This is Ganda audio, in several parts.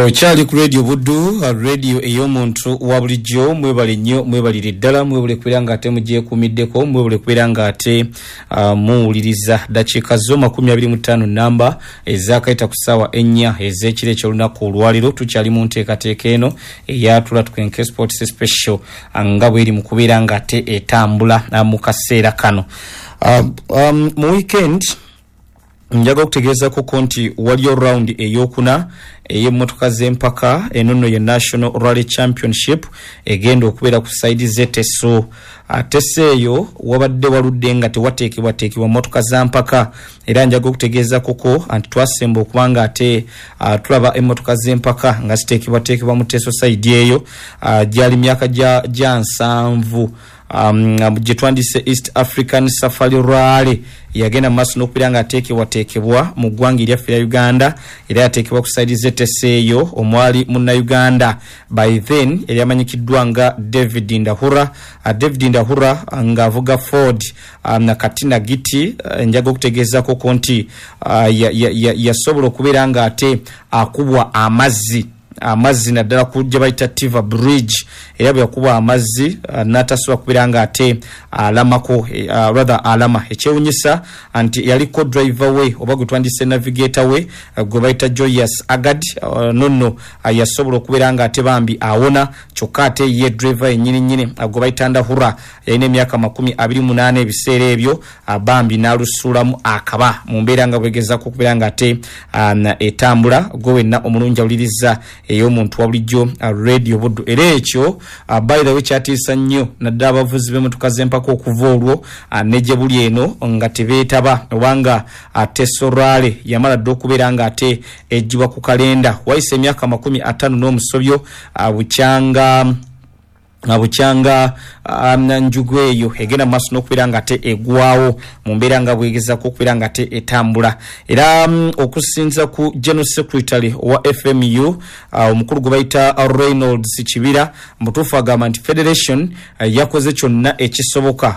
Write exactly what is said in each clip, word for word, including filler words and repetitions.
Okyali ku Radio Buddu, radio ey'omuntu wa bulijjo. Mwebale nnyo, mwebalire ddala, mwebale kubeera nga ate mugyekuumiddeko, mwebale kubeera nga ate uh, muwuliriza. Dakiika zo makumi abiri mu ttaano namba ezaakayita ku ssaawa ennya ez'ekiro eky'olunaku olwaleero. Tukyali mu nteekateeka eno eyatula Tukenke Sports Special nga bweri mu kubeera nga ate etambula uh, mu kaseera kano. uh, um, mu weekend njaga okutegeezako nti waliyo round eyokuna ey'emmotoka z'empaka eno nno ye National Rally Championship egenda okubeera ku side z'Eteso. Teso eyo wabadde waludde nga tewateekebwateekebwa mmotoka za mpaka, era njaga okutegeezako nti twasemba okuba nga ate uh, tulaba emmotoka z'empaka nga ziteekebwateekebwa mu Teso side eyo. uh, gyali myaka gya nsanvu um, gye twandise East African Safari Rally yagenda maaso n'okubeera nga ateekebwateekebwa mu ggwanga eryaffe erya Uganda, era yateekebwa ku side z'Eteso eyo omwali munnayuganda by then eryamanyikiddwa nga David Ndahura. uh, David Ndahura ng'avuga Ford um, na Katina Giti. uh, njaga okutegeezako nti uh, yasobola ya, ya okubeera nga ate akubwa amazzi amazzi naddala ku gye bayita Tiva Bridge, era bwe yakuba amazzi uh, n'atasobola kubeera nga ate alamako, uh, rather alama. Ekyewunyisa nti yaliko driver we oba gwe twandise navigator we uh, gwe bayita Joyous Agad, uh, nonno uh, yasobola okubeera nga ate bambi awona, kyokka ate ye driver yennyini nnyini uh, gwe bayita Ndahura yalina emyaka makumi abiri munaana ebiseera ebyo, uh, bambi n'alusuulamu akaba mu mbeera nga bwegezaako okubeera nga ate um, etambula. Gwe wenna omulungi awuliriza ey'omuntu wa bulijjo Radio Buddu. Era ekyo uh, by the way kyatiisa nnyo naddala abavuzi b'emmotoka z'empaka okuva olwo uh, ne gye buli eno nga tebeetaba, obanga uh, Teso Rally yamala dda okubeera nga ate ejjibwa ku kalenda. Wayise emyaka makumi ataano n'omusobyo uh, bukyanga bukyanga um, njugu eyo egenda mu maaso n'okubeera nga ate egwawo mu mbeera nga bwegezaako okubeera nga ate etambula. Era um, okusinza ku General Secretary wa F M U uh, omukulu gwe bayita Reynolds Kibira, mutuufu agamba nti Federation uh, yakoze kyonna ekisoboka,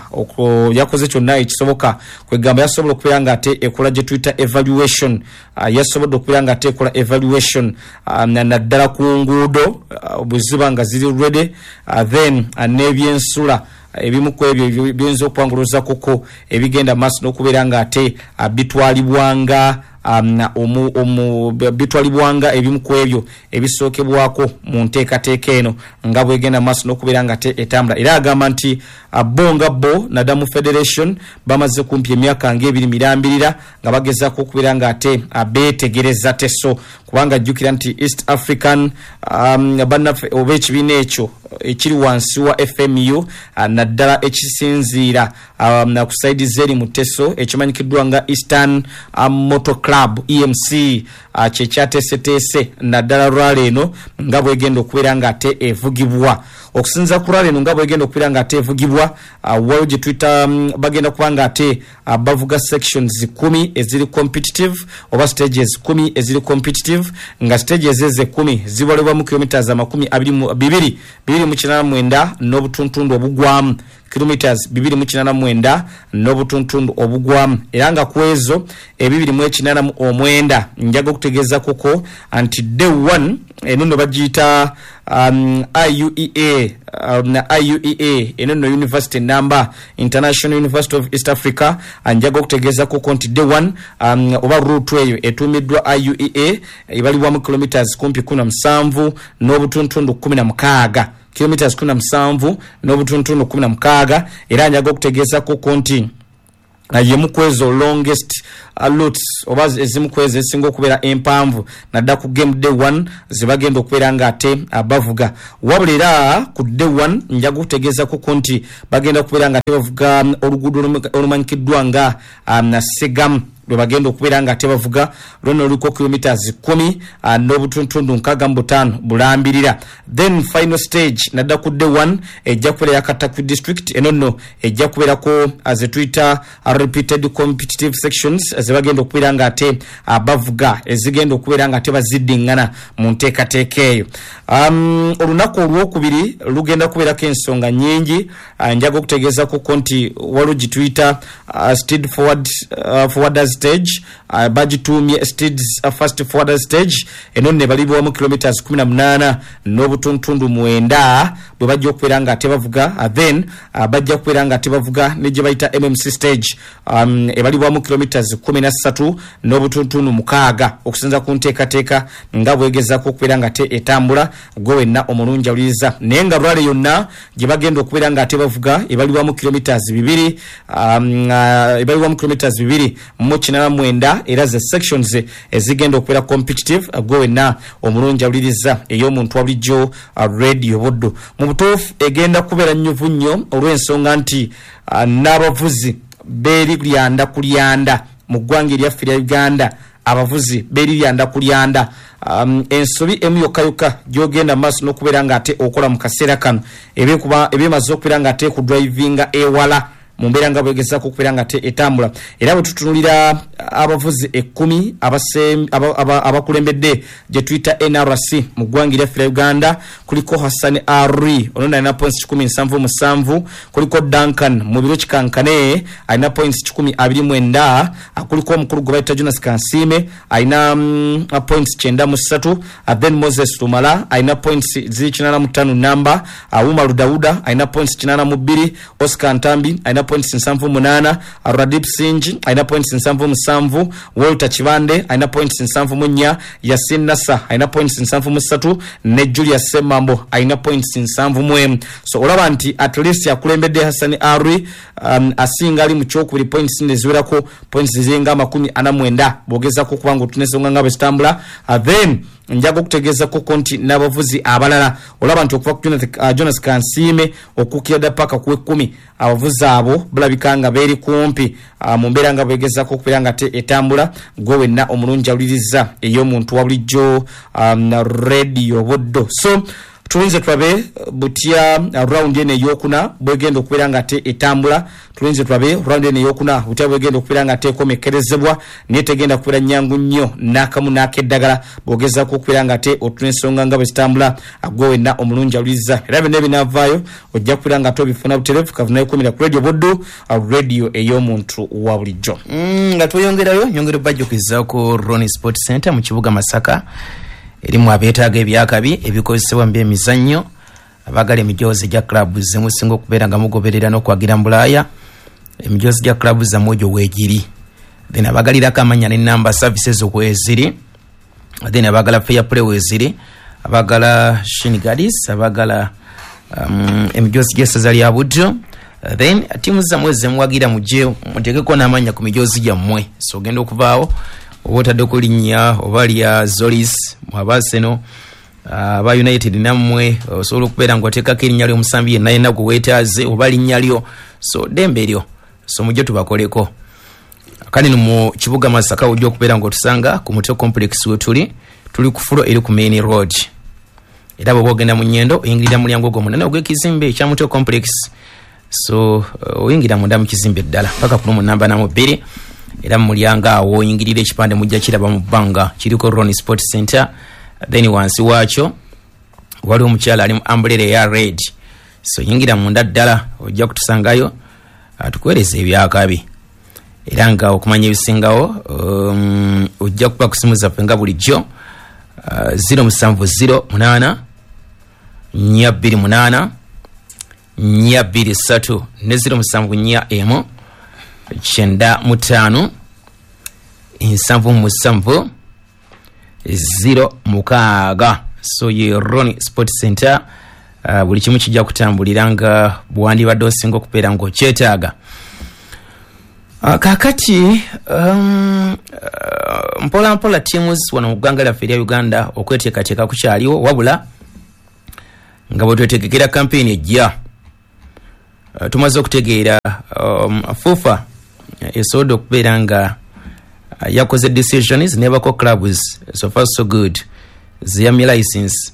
yakoze kyonna ekisoboka kwegamba yasobola okubeera nga ate ekola gye tuyita evaluation, uh, yasobodde okubeera nga ate ekola evaluation uh, naddala ku nguudo uh, bwe ziba nga ziri ready, uh, then uh, n'ebyensula ebimu ku ebyo biyinza okuwanguluza kuko ebigenda maaso n'okubeera nga ate uh, bitwalibwanga um, omu, omu, bitwalibwanga ebimu ku ebyo ebisookebwako mu nteekateeka eno nga bwegenda maaso n'okubeera nga ate etambula. Era agamba nti uh, bo nga bo nadda mu Federation bamaze kumpi emyaka ng'ebiri mirambirira nga bagezaako okubeera nga ate uh, beetegereza Teso, kubanga jjukira nti East African um, bannaffe oba ekibiina ekyo ekiri wansi wa F M U uh, naddala ekisinziira um, ku side z'eri mu Teso ekimanyikiddwa nga Eastern um, Motor Club E M C uh, kye kyateeseteese naddala rally eno nga bwegenda okubeera nga ate evugibwa. Okusinza ku rally eno nga bwegenda okubeera nga ate evugibwa, uh, waliwo gye tuyita um, bagenda kuba nga ate uh, bavuga sections kumi eziri competitive oba stages kumi eziri competitive, nga stages ezo kumi zibalibwa mu kilometers amakumi abiri mu bibiri bibiri mu kinaana mwenda n'obutuntundu obugwamu, kilometers bibiri mu kinaana mwenda n'obutuntundu obugwamu, era nga ku ezo ebibiri mu ekinaana mu omwenda njaga okutegeeza kuko nti day one eno nno bagiyita um, I U E A um, I U E A eno nno university number International University of East Africa. Njaga okutegeeza kuko nti day one um, oba route eyo etuumiddwa I U E A ebalibwamu kilometers kumpi kumi na musanvu n'obutuntundu kumi na mukaaga, kilometers kumi na musanvu n'obutuntundu kumi na mukaaga. Era njaga okutegeeza kuko nti yemu ku ezo longest routes oba ezimu ku ezo ezisinga okubeera empanvu nadda ku game day one zebagenda okubeera nga ate bavuga. Wabula era ku day one njaga okutegeeza kuko nti bagenda okubeera nga ate bavuga oluguudo olumanyikiddwa nga um, Segamu lwe bagenda okubeera nga ate bavuga lwonna luliko kilometers kumi uh, n'obutuntundu nkaaga mu butaano bulambirira. Then final stage nadda ku day one ejja kubeera ya Katakwi district, eno nno ejja kubeerako ze tuyita repeated competitive sections ze bagenda okubeera nga ate uh, bavuga ezigenda okubeera nga ate baziddiŋŋana mu nteekateeka eyo. Um, olunaku olwokubiri lugenda kubeerako ensonga nnyingi. uh, njaga okutegeezako nti waliwo gye tuyita uh, steed forward, uh, forwarders stage uh, bagituumye Steeds uh, fast forward stage. Eno ne balibwamu kilometers kumi na munaana n'obutuntundu mwenda bwe bajja okubeera nga tebavuga. uh, then uh, bajja kubeera nga tebavuga ne gye bayita M M C stage um, ebalibwamu kilometers kumi na ssatu n'obutuntundu mukaaga okusinza ku nteekateeka nga bwegezaako okubeera nga te etambula. Gwe wenna omulungi awuliriza, naye nga rally yonna gye bagenda okubeera nga tebavuga ebalibwamu kilometers bibiri um, uh, ebalibwamu kilometers bibiri mu kinaana mwenda, era ze sections ezigenda okubeera competitive. Gwe wenna omulungi awuliriza ey'omuntu wa bulijjo uh, Radio Buddu, mu butuufu egenda kubeera nnyuvu nnyo olw'ensonga nti uh, n'abavuzi beeri lyanda kulyanda mu ggwanga eryaffe lya Uganda, abavuzi beeri lyanda kulyanda. um, ensobi emu yokka yokka gy'ogenda maaso n'okubeera ng'ate okola mu kaseera kano ebekuba ebyemaze okubeera ng'ate kudrivinga ewala mu mbeera nga bwegezaako okubeera nga te etambula. Era bwe tutunulira abavuzi ekkumi abakulembedde gye tuyita N R C mu ggwanga eryaffe lya Uganda, kuliko Hassan Ari ono alina points kikumi nsanvu musanvu, kuliko Duncan Mubiro Kikankane alina points kikumi abiri mwenda, kuliko omukulu gwe bayita Jonas Kansiime alina mm, points kyenda mu ssatu, then Moses Lumala alina points ziri kinaana mu ttaano namba, Umaru Dawuda alina points kinaana mu bbiri, Oscar Ntambi alina points nsanvu munaana, Radip Sinji alina points nsanvu musanvu, Walter Kibande alina points nsanvu mu nnya, Yasin Nasa alina points nsanvu mu ssatu ne Julius Semambo alina points nsanvu mu emu. So olaba nti at least akulembedde Hassan Ari um, asinga ali mu kyokubiri points neziwerako points ziringa amakumi ana mwenda bw'ogezaako okuba nga otuna ensonga nga bwe zitambula. uh, then njaga okutegeezako nti n'abavuzi abalala olaba nti okuva ku uh, Jonas Kansiime okuukira dda paka ku ekkumi, abavuzi abo balabika nga beeri kumpi uh, mu mbeera nga bwegezaako okubeera nga te etambula. Gwe wenna omulungi awuliriza ey'omuntu wa bulijjo um, Radio Buddo. So tulinze tulabe butya round eno eyokuna bwegenda okubeera nga te etambula. Tulinze tulabe round eno eyokuna butya bwegenda okubeera nga teekomekkerezebwa, naye tegenda kubeera nnyangu nnyo n'akamu n'akeddagala bw'ogezaako okubeera nga te otuna ensonga nga bwe zitambula. Gwe wenna omulungi awuliriza, era byonna ebinaavaayo ojja kubeera nga te obifuna butereevu. Kavunayo ku Radio Buddu, radio ey'omuntu wa bulijjo. Mm, nga tweyongerayo nyongera obajjukizaako Ronnie Sport Center mu kibuga Masaka erimu abeetaaga ebyakabi ebikozesebwa mu byemizannyo, abaagala emijoozi gya club zemusinga okubeera nga mugoberera n'okwagira mu Bulaaya, emijoozi gya club zammwe egyo weegiri. Then abaagalirako amannya n'ennamba services weeziri, then abaagala fair play weeziri, abaagala shin guards, abaagala um, emijoozi gy'essaza lya Buddu. Then ttiimu zammwe zemuwagira mujje muteekeko n'amannya ku mijoozi gyammwe. So ogenda okuvaawo oba otaddeko linnya oba lya Zolis aba Arsenal, aba United nammwe osobola okubeera ng'oteekako erinnya ly'omusambi yenna yenna gwe weetaaze oba linnya lyo, so ddembe eryo, so mujje tubakoleko. Kale no mu kibuga Masaka ojja okubeera ng'otusanga ku Mutwe Complex we tuli, tuli ku fulo eri ku main road, era bw'oba ogenda mu Nyendo oyingirira mu mulyango ogwo munene ogw'ekizimbe ekya Mutwe Complex. So oyingira munda mu kizimbe ddala paka ku lumu namba namu bbiri, era mu mulyango awo oyingirira ekipande mujja kiraba mu bbanga kiriko Ronnie Sport Center. Then wansi waakyo waliwo omukyala ali mu umbrella eya red, so yingira munda ddala ojja kutusangayo atukuweereza ebyakabi. Era nga okumanya ebisingawo um, ojja kuba ku simu zaffe nga bulijjo uh, zero musanvu zero munaana nnya bbiri munaana nnya bbiri ssatu ne zero musanvu nnya emu kyenda mu ttaano nsanvu musanvu zero mukaaga. So ye Ronnie Sport Center, uh, buli kimu kijja kutambulira nga bwandibadde osinga okubeera ng'okyetaaga. Uh, kaakati um, uh, mpola mpola teams wano mu ggwanga lyaffe erya Uganda okweteekateeka kukyaliwo, wabula nga bwe twetegekera campaign ejja, uh, tumaze okutegeera um, FUFA esobodde okubeera nga uh, yakoze decisions nebako clubs so far so good ziyamye license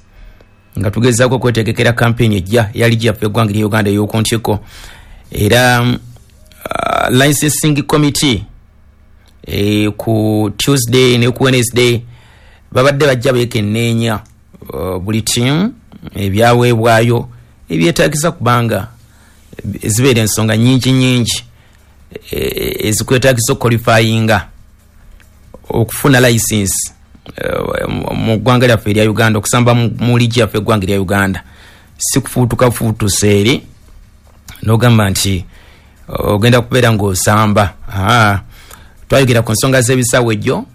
nga tugezaako okwetegekera campaign ejja eya liigi yaffe eggwanga erya Uganda ey'oku ntikko. Era um, uh, licensing committee e, ku Tuesday ne ku Wednesday babadde bajja beekenneenya uh, buli team ebyaweebwayo ebyetaagisa, kubanga zibeera ensonga nyingi nyingi ezikwetaagisa okuqualifyinga. okufuna license uh, mu ggwanga lyaffe erya Uganda, okusamba mu liigi yaffe eggwanga erya Uganda, si kufuutuka fuutusa eri n'ogamba nti ogenda kubeera ng'osamba. Twayogera ku nsonga z'ebisawo ejjo,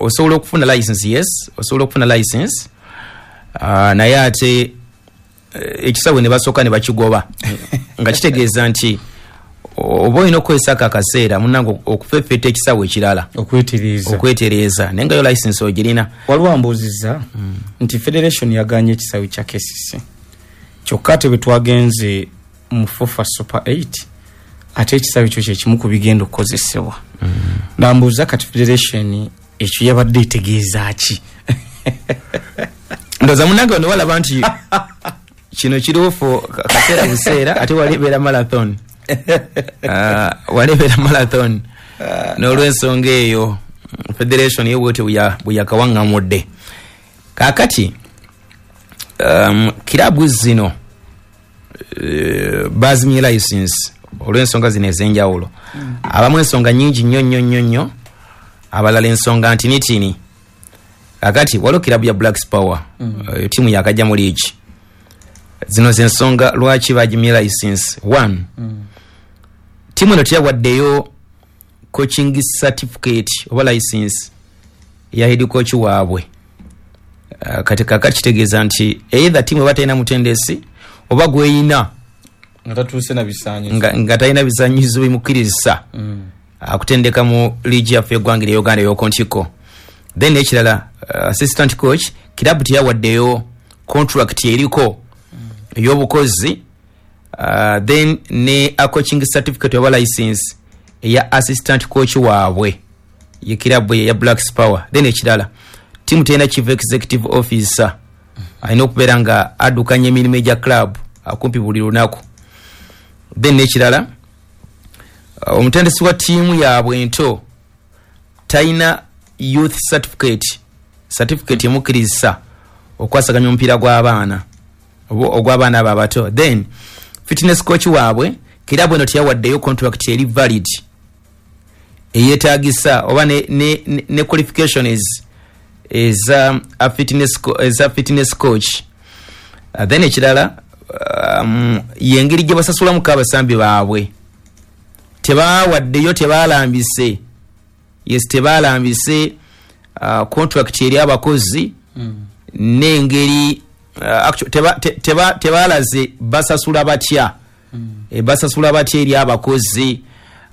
osobola okufuna license, yes, osobola okufuna license, uh, naye ate ekisawe ne basooka ne bakigoba nga kitegeeza nti oba olina okukozesako akaseera munnange okufeffetta ekisawe ekirala okwetereeza okwetereeza naye nga yo license ogirina. Waliwo ambuuzizza mm. nti federation yaganye ekisawe kya K C C, kyokka ate bwe twagenze mu FUFA Super eight ate ekisawe ekyo kyekimu ku bigenda okukozesebwa. mm. Nambuuza kati federation ekyo yabadde etegeeza ki? Ndowooza munnange ono walaba nti kino kiruufu kaseera buseera, ate wali ebeera marathon uh, wali ebeera marathon uh, n'olwensonga eyo federation yo bwetyo bwe yakawaŋŋamudde. Kaakati um, kirabu zino uh, bazimye license olw'ensonga zino ez'enjawulo. mm. Abamu ensonga nnyingi nnyo nnyo nnyo nnyo, abalala ensonga ntinitini. Kaakati waliwo kirabu ya Black Power, mm. uh, tiimu yakajja mu liigi. Zino zensonga lwaki bagimye license. One, mm. tiimu eno teyawaddeyo coaching certificate oba license ya head coach waabwe. Uh, kati kakati kitegeeza nti either tiimu eba talina mutendesi oba gweyina nga tatuuse na bisaanyizo, nga, nga talina bisaanyizo bimukkiriza mm. akutendeka mu liigi yaffe eggwanga erya Uganda ey'okuntiko. Then ekirala, uh, assistant coach kirabu teyawaddeyo contract eriko ey'obukozi, uh, then ne a coaching certificate oba license eya assistant coach waabwe ye kirabu ya Black Power. Then ekirala, tiimu terina chief executive officer alina okubeera nga addukanya emirimu egya club akumpi buli lunaku. Then ekirala, uh, omutendesi wa ttiimu yaabwe ento talina youth certificate, certificate emukkiriza okwasaganya omupiira gw'abaana ogw'abaana abo abato. Then fitness coach waabwe kirabu eno teyawaddeyo contract eri valid eyeetagisa oba ne, ne, ne, ne qualifications eza a fitness, eza fitness coach. Uh, then ekirala, um, yengeri gye basasulamuko abasambi baabwe tebawaddeyo, tebalambise, yes, tebalambise uh, contract eri abakozi mm. n'engeri Uh, actually teba teba tebalaze basasula batya mm. e, basasula batya eri abakozi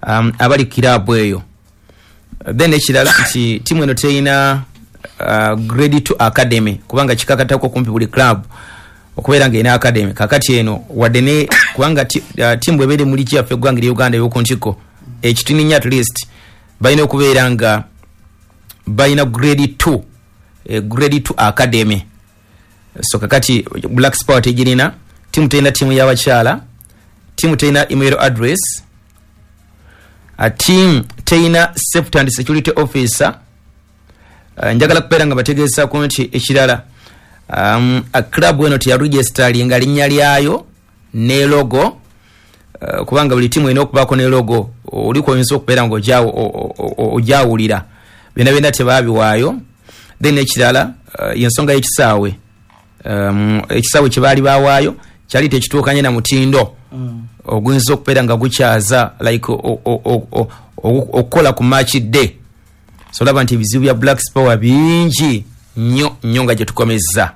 um, abali kirabu eyo. Then ekirala nti tiimu eno terina uh, grade two academy, kubanga kikakatako kumpi buli club okubeera nga erina academy. Kakati eno wadde ne kubanga uh, tiimu bw'ebeera mu liigi yaffe eggwanga erya Uganda ey'okuntiko ekitini nnyo at least balina okubeera nga balina grade two, eh, grade two academy. So kakati Black Power tegirina, tiimu terina tiimu y'abakyala, tiimu terina email address, a team terina safety and security officer. Uh, njagala kubeera nga bategeezaako nti ekirala, um, a club eno teyaregisteringa linnya lyayo ne logo, uh, kubanga buli tiimu erina okubaako ne logo oliko oyinza okubeera nga ogyawulira, byonna byonna tebaabiwaayo. Then ekirala, uh, yensonga y'ekisaawe, um, ekisaawe kye baali baawaayo kyali tekituukanye na mutindo mm. oguyinza okubeera nga gukyaza like okukola ku match day. So olaba nti ebizibu bya Black Power bingi nnyo nnyo nga gye tukomezza.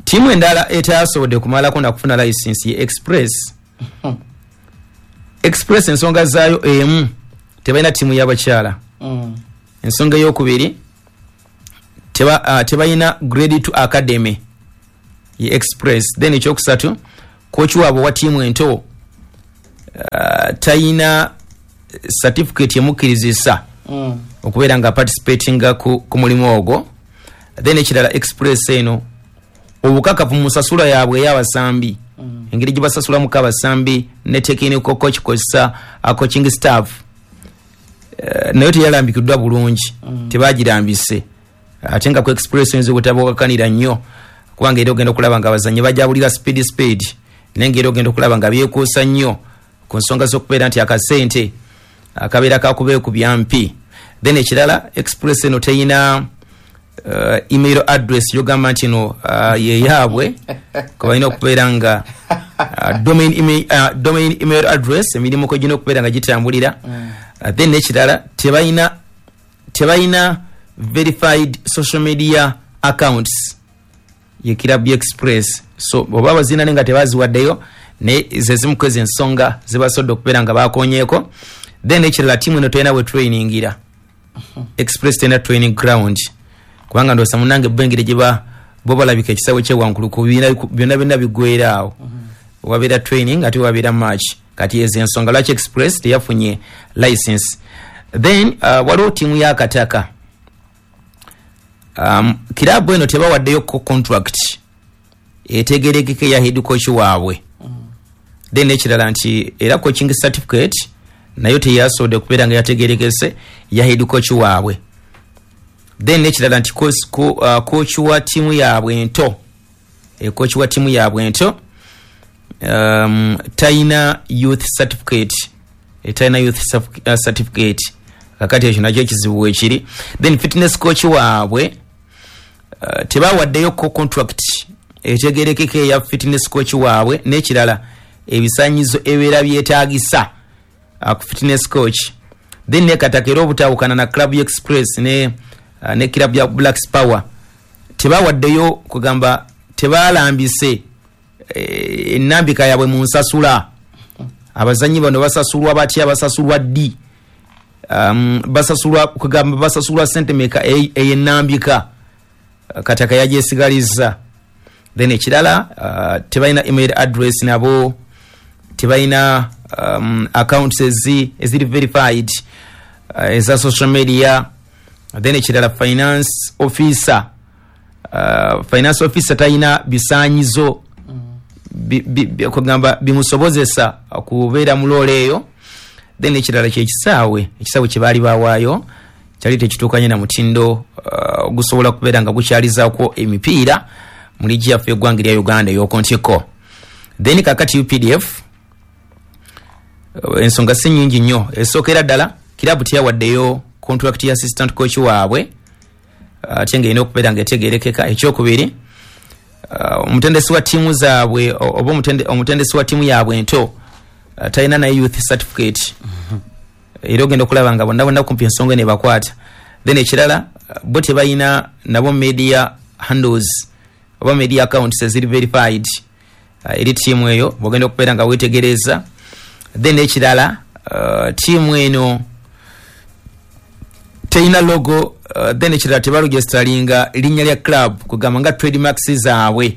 Ttiimu endala etasobodde kumalako nakufuna license ye Express. Express ensonga zaayo emu, tebalina ttiimu y'abakyala. mm. Ensonga ey'okubiri, teba, uh, tebalina grade two academy ye Express. Then ekyokusatu, coach waabwe wa ttiimu ento uh, talina certificate emukkirizisa mm. okubeera nga participatinga ku, ku mulimu ogwo. Then ekirala, Express eno obukakafu mu nsasula yaabwe ey'abasambi, mm. engeri gye basasulamuko abasambi ne technical coach kozesa coaching staff, uh, nayo teyalambikiddwa bulungi, mm. tebagirambise. Ate nga ku Express oyinza obutabukakanira nnyo, kubanga era ogenda okulaba nga abazannyi bajabulira speed speed, naye nga era ogenda okulaba nga byekuusa nnyo ku nsonga z'okubeera nti akasente akabeera kakubeekubya mpi. Then ekirala, Express eno teyina uh, email address yogamba nti no uh, yeyaabwe, kubalina okubeera nga uh, domain, email, uh, domain email address emirimu kwe gina okubeera nga gitambulira. Uh, then ekirala, tebalina tebalina verified social media accounts ye Club Express. So oba bazina nga tebaziwaddeyo, naye ze zimu ku ezo ensonga zibasobodde okubeera nga bakonyeeko. Then ekirala, tiimu eno terina bwe trainingira. Express terina training ground, kubanga ndowooza munange bo engeri gye ba bo balabika ekisaawe kyewankuluku byonna byonna biggwera awo, wabeera training ate wabeera match. Kati ezo ensonga lwaki Express teyafunye license. Then uh, waliwo tiimu yakataka. um, kirabu eno tebawaddeyo ko contract etegerekeka eya head coach waabwe. Then ekirala nti era coaching certificate nayo teyasobodde okubeera nga yategerekese ya head coach waabwe. Then ekirala nti coach, uh, coach wa tiimu yaabwe ento, e coach wa tiimu yaabwe ento um, talina youth certificate, talina youth certificate. Kakati ekyo nakyo ekizibu wekiri. Then fitness coach waabwe, uh, tebawaddeyo ko contract etegerekeka eya fitness coach waabwe. N'ekirala, ebisanyizo ebibeera byetaagisa uh, ku fitness coach. Then nekataka era obutawukana na Club Express ne, uh, ne club ya Black Power, tebawaddeyo kugamba tebalambise enambika yaabwe mu nsasula. Abazanyi bano basasulwa batya? Basasulwa ddi? um, basasulwa kugamba basasulwa sente meka ey'enambika? Kataka yajesigaliza. Then ekirala, uh, tebalina email address, nabo tebalina um, accounts ezi eziri verified uh, eza social media. Then ekirala, finance officer uh, finance officer talina bisanyizo kugamba bimusobozesa kubeera mu role eyo. Then ekirala kyekisaawe, ekisaawe kye baali bawaayo kyali tekituukanye na mutindo uh, gusobola kubeera nga gukyalizaako emipiira mu liigi yaffe eggwanga erya Uganda ey'okuntiko. Then kakati U P D F, uh, ensonga si nyingi nnyo. Esookera ddala, kirabu teyawaddeyo contract ya assistant coach waabwe, ate nga erina okubeera nga etegerekeka. Ekyokubiri, uh, omutendesi wa ttiimu zaabwe oba omutendesi wa ttiimu yaabwe ento uh, talina naye youth certificate. Era ogenda okulaba nga bonna bonna kumpi ensonga nebakwata. Then ekirala, bo tebalina nabo media handles oba media accounts eziri verified uh, eri ttiimu eyo bwogenda okubeera nga wetegereza. Then ekirala, uh, ttiimu eno terina logo. uh, then ekirala, tebaregisteringa linnya lya club kugamba nga trademarks zaabwe.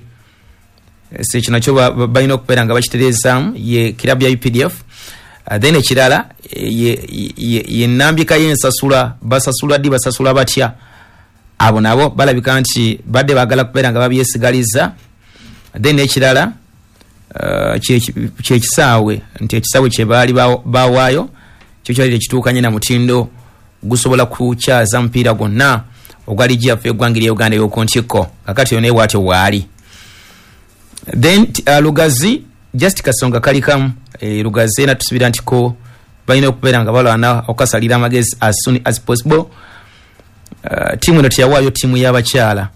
So ekyo nakyo balina okubeera nga bakitereezaamu, ye kirabu ya U P D F. uh, then ekirala, ye nambika y'ensasula. Basasulwa ddi? Basasula batya? Abo nabo balabika nti badde baagala kubeera nga babyesigaliza. Then ekirala, uh, kyekisaawe, nti ekisaawe kyebaali bawaayo kyo kyali tekituukanye na mutindo gusobola kukyaza mupiira gwonna ogwa liigi yaffe eggwanga erya Uganda ey'okuntikko. Kakati yo naye bwatyo bwali. Then uh, Lugazi, just kasonga kali kamu. e, lugazi era tusubira nti ko balina okubeera nga balwana okukasalira amagezi as soon as possible. uh, tiimu eno teyawaayo ttiimu y'abakyala,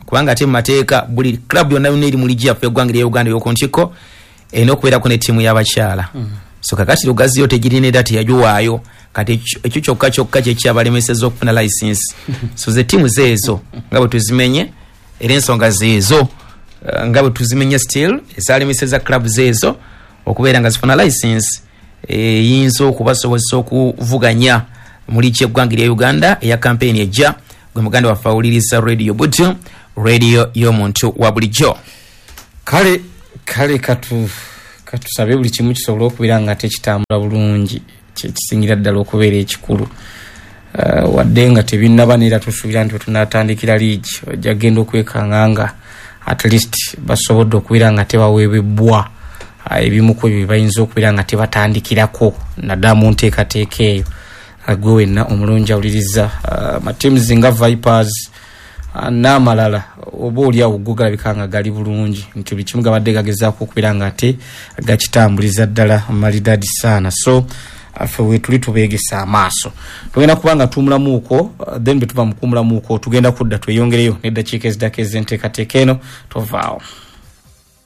kubanga ate mu mateeka buli club yonna yonna eri mu liigi yaffe eggwanga erya Uganda ey'okuntikko erina okubeerako ne ttiimu y'abakyala. mm. So kakati Lugazi yo tegirina era teyagiwaayo. Kati ekyo kyokka kyokka kyekyabalemeseza okufuna license. So ze ttiimu zeezo nga bwe tuzimenye, era ensonga zeezo uh, nga bwe tuzimenye still ezalemeseza club zeezo okubeera nga zifuna license eyinza okubasobozesa okuvuganya mu liigi y'eggwanga erya Uganda eya campaign ejja. Gwe muganda waffe awuliriza Radio Butu, radio y'omuntu wa bulijjo. Kale kale, katu katusabe buli kimu kisobole okubeera nga tekitambula bulungi, kyekisingira ddala okubeera ekikulu. uh, wadde nga tebinnaba, neera tusuubira nti wetunatandikira liigi ojja genda okwekanga nga at least basobodde okubeera nga tebaweebwebbwa uh, ebimu ku ebyo bayinza okubeera nga tebatandikirako, naddala mu nteekateeka eyo. uh, gwe wenna omulungi awuliriza, uh, mateams nga Vipers uh, n'amalala oba oliawo go galabika nga gali bulungi, nti buli kimu gabadde gagezaako okubeera nga ate gakitambuliza ddala malidadi saana. So Ffe wetuli tubeegesa amaaso. Tugenda kuba nga tuwumulamuuko, then bwe tuva mu kuwumulamuuko tugenda kudda tweyongereyo n'eddakiika eziddako ez'enteekateeka eno. Tovaawo.